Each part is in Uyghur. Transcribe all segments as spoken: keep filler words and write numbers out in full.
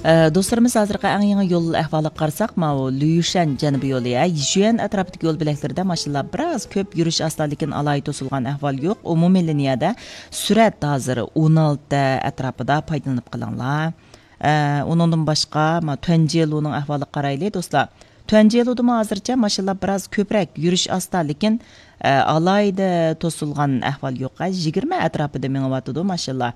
ئە، دوستلىرىمىز، ھازىرقى ئەڭ يېڭى يول ئەھۋالىغا قارىساق، ماۋۇ لۈيۈشەن جەنۇبىي يولى، ھە، يىشۈەن ئەتراپىدىكى يول بۆلەكلىرىدە ماشىنىلار بىراز كۆپ، يۈرۈش ئاستا، لېكىن ئالاھىدە توسۇلغان ئەھۋال يوق. ئومۇمىي لىنىيەدە سۈرئەت ھازىر ئون ئالتە ئەتراپىدا، پايدىلىنىپ قېلىڭلار. ئە، ئۇنىڭدىن باشقا، ما، تۈەنجيېلۇنىڭ ئەھۋالىغا قارايلى، دوستلار. تۈەنجيېلۇدا ھازىرچە ماشىنىلار بىراز كۆپرەك، يۈرۈش ئاستا، لېكىن، ئە، ئالاھىدە توسۇلغان ئەھۋال يوق. ئە، يىگىرمە ئەتراپىدا مېڭىۋاتىدۇ ماشىنىلار.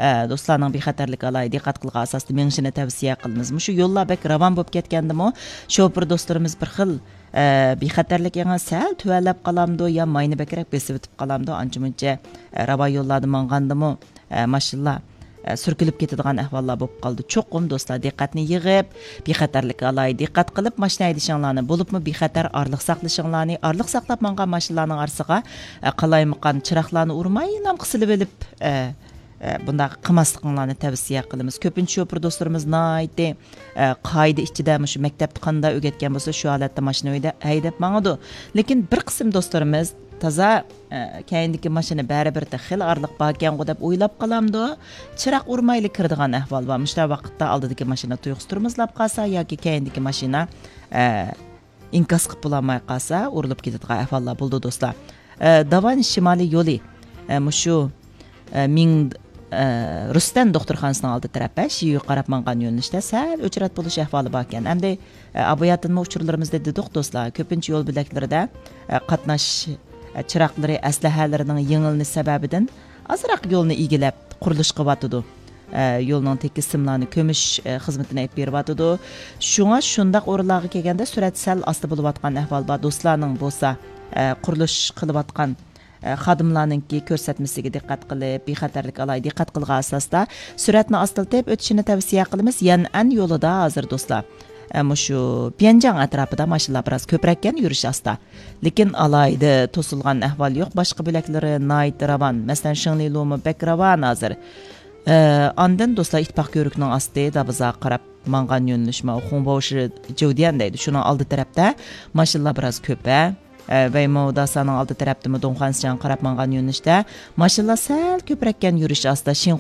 ئە، دوستلارنىڭ بىخەتەرلىككە ئالاھىدە دىققەت قىلغان ئاساستا مېڭىشىنى تەۋسىيە قىلىمىز. مۇشۇ يوللار بەك راۋان بولۇپ كەتكەندىمۇ، شوپۇر دوستلىرىمىز بىر خىل، ئە، بىخەتەرلىك ئېڭى سەل تۆۋەنلەپ قالامدۇ يا ماينى بەكرەك بېسىۋېتىپ قالامدۇ، ئانچە مۇنچە، ئە، راۋان يوللاردا ماڭغاندىمۇ، ئە، ماشىنىلار، ئە، سۈركىلىپ كېتىدىغان ئەھۋاللار بولۇپ قالدى. چوقۇم دوستلار دىققەتنى يىغىپ، بىخەتەرلىككە ئالاھىدە دىققەت قىلىپ ماشىنا ھەيدىشىڭلارنى، بولۇپمۇ بىخەتەر ئارىلىق ساقلىشىڭلارنى، ئارىلىق ساقلاپ ماڭغان ماشىنىلارنىڭ ئارىسىغا، ئە، قالايمىقان چىراغلارنى ئۇرمايلا قىسىلىۋېلىپ، ئە، ئە، بۇنداق قىلماسلىقىڭلارنى تەۋسىيە قىلىمىز. كۆپىنچە شوپۇر دوستلىرىمىز ناھايىتى، ئە، قائىدە ئىچىدە مۇشۇ مەكتەپتە قانداق ئۆگەتكەن بولسا، شۇ ھالەتتە ماشىنا ھەيدەپ ماڭىدۇ. لېكىن بىر قىسىم دوستلىرىمىز تازا، ئە، كەينىدىكى ماشىنا بەرىبىر خېلى ئارىلىق باركەنغۇ دەپ ئويلاپ قالامدۇ، چىراغ ئۇرمايلا كىرىدىغان ئەھۋال بار. مۇشۇنداق ۋاقىتتا ئالدىدىكى ماشىنا تۇيۇقسىز تورمۇزلاپ قالسا ياكى كەينىدىكى ماشىنا، ئە، ئىنكاس قىلىپ بولالماي قالسا، ئۇرۇلۇپ كېتىدىغان ئەھۋاللار بولىدۇ، دوستلار. ئە، داۋان شىمالىي يولى، ئە، مۇشۇ، ئە، مىڭ، ئە، رۇستەن دوختۇرخانىسىنىڭ ئالدى تەرەپى، شىيۈگە قاراپ ماڭغان يۆنىلىشتە سەل ئۆچرەت بولۇش ئەھۋالى باركەن. ئەمدى، ئە، ئاباياتىنمۇ ئۇچۇرلىرىمىزدا دېدۇق، دوستلار، كۆپىنچە يول بۆلەكلىرىدە، ئە، قاتناش، ئە، چىراغلىرى، ئەسلىھەلىرىنىڭ يېڭىلىنىش سەۋەبىدىن ئازراق يولنى ئىگىلەپ، قۇرۇلۇش قىلىۋاتىدۇ. ئە، يولنىڭ تېكىس سىملارنى كۆمۈش، ئە، خىزمىتىنى ئېلىپ بېرىۋاتىدۇ. شۇڭا شۇنداق ئورۇنلارغا كەلگەندە سۈرئەت سەل ئاستا بولۇۋاتقان ئەھۋال بار. دوستلارنىڭ بولسا، ئە، قۇرۇلۇش قىلىۋاتقان، ئە، خادىملارنىڭكى كۆرسەتمىسىگە دىققەت قىلىپ، بىخەتەرلىككە ئالاھىدە دىققەت قىلغان ئاساستا سۈرئەتنى ئاستىلىتىپ ئۆتۈشىنى تەۋسىيە قىلىمىز. يەنئەن يولىدا ھازىر، دوستلار، ئە، مۇشۇ پيەنجاڭ ئەتراپىدا ماشىنىلار بىراز كۆپرەككەن، يۈرۈش ئاستا. لېكىن ئالاھىدە توسۇلغان ئەھۋال يوق، باشقا بۆلەكلىرى ناھايىتى راۋان. مەسىلەن، شىڭلىلۇمۇ بەك راۋان ھازىر. ئە، ئاندىن دوستلار، ئىتتىپاق كۆۋرۈكىنىڭ ئاستى دابىزاغا قاراپ ماڭغان يۆنىلىش، ماۋۇ خۇڭباۋشى جيۇديەن دەيدۇ. شۇنىڭ ئالدى تەرەپتە ماشىنىلار بىراز كۆپ، ھە. ئە، ۋەيمو داسانىڭ ئالدى تەرەپتىمۇ دۇڭخۇەنسىجياڭغا قاراپ ماڭغان يۆنىلىشتە ماشىنىلار سەل كۆپرەككەن، يۈرۈش ئاستا. شىڭ